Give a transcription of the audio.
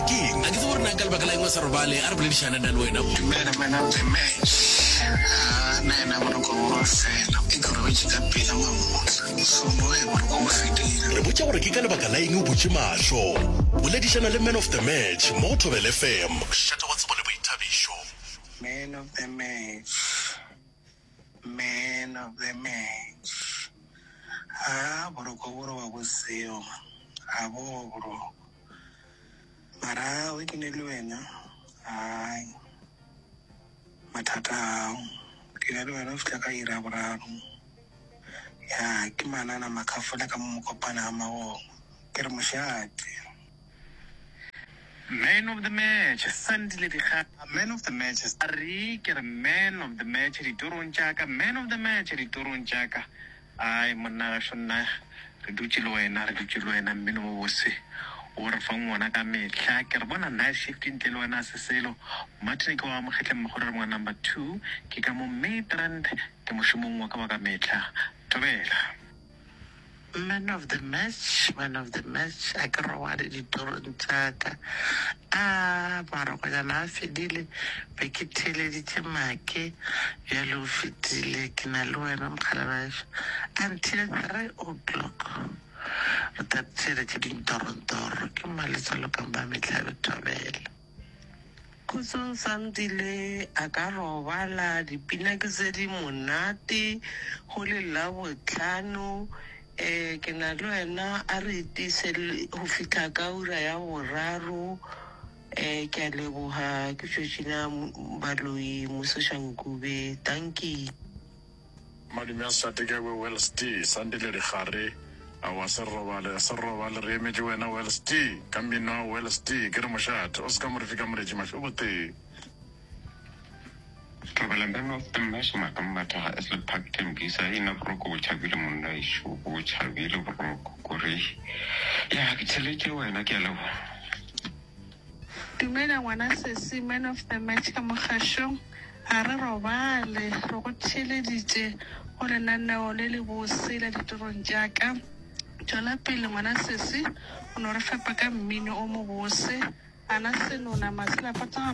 Keng? A ke tsebe gore na ka lebaka la eng o sa robale. A re boledišane nna le wena. Dumela man of the match. Haa nna yena boroko bo ba fela e ke robetše ka pela mamohla so moya boroko bo fedile. Re botša gore ke ka lebaka la eng o butše mahlo. Boledišana le man of the match mo go Thobela FM. Mošate wa tsebo le boithabišo. Man of the match, man of the match. Haa boroko bo roba bo seo man, ga bo boroko. Mara ge ke ne le wena, hai mathata ao. Ke na le wena go fihla ka iri ya boraro. Ya ke manana makhafola ka mo mokopana ga magogo. Ke re mošate. Man of the match, Sandile Dikgale. Man of the match, Re ke re man of the match ditorong tša ka, man of the match ditorong tša ka. Ai monna gašo nna re dutše le wena, re dutše le wena mmino mo bose o re fang wona ka mehla. Ke re bona night shift ntle le wena se selo. Martin ke wa Mokgetleng Mogolo re mongwe number 2 ke ka mo Midrand ke mošomong wa ka wa ka mehla. Thobela. Man of the match, man of the match, a ke robale ditorong tša ka. A marokonyana a fedile, be ke theeleditše make, bjale o fetile, ke na le wena mokgalabešo until 3 o'clock. Re tla theeletša dintorontoro, ke mmaletswalo ka Mmamehlabe Thobela. Khutsong Sandile a ka robala, dipina ke tse di monate, go le Labohlano. Eh, ke na le wena, a re itiise go fihla ka ura ya boraro. Eh, ke a leboga, ke Georgina Baloyi Mosošankube. Dankie. Madume a Sate ka kwe Wells T. Sandile Dikgare, Aowa se robale, se robale re emetše wena Wells T. Ka mmino wa Wells T. Ke re mošate, o se ka mo re fika moretši mahlo botee. Thobela Man of the Match Maka Mmathaga Esle Park Tembisa ina boroko bo tšhabile monna ešo bo tšhabile boroko kore ya ke theletše wena ke a leboga. Dumela ngwana sesi man of the match ka mogašong ga re robale re go theeleditše go lenaneo le le bose la ditorong tša ka tšwela pele ngwana sesi o no re fepa ka mmino o mobose ana senona maselapata ga.